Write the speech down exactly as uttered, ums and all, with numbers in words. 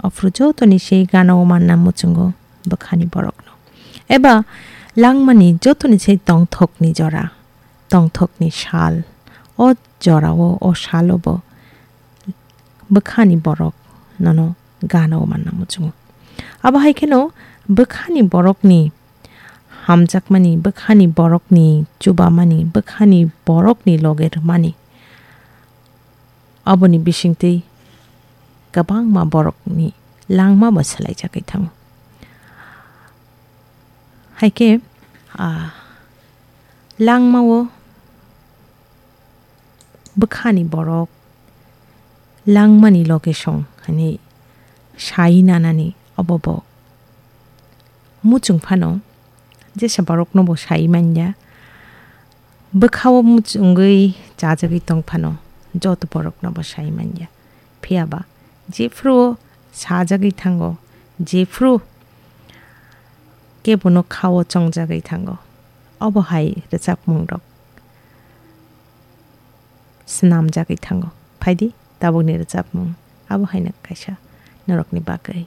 Aphuru jotoni se gana o manna muchungo bwkhani borokno. Eba langmani jotoni se tongthokni jora, tongthokni sal, o jorao, o salo bo bwkhani borok nono gana o manna muchungo. Abo hai kheno bwkhani borokni hamjakmani, bwkhani borokni chubamani, bwkhani borokni loge rwmani, aboni bisingtwi kwbangma borokni langma bo swlaijagwi thango. Hai khe, ah, langmao bwkhani borok langmani location hwnwi sai nanani obo bo muchung phano jesa borokno bo sai manya. Bwkhao muchungwi chajagwi tong phano joto borokno bo sai manya. Phiya ba jephru sajagwi thango, jephru kebono khao chongjagwi thango, obo hai rwchapmung rok swnamjagwi thango. Phaidi, tabukni rwchapmung abo haino kaisa norokni bagwi.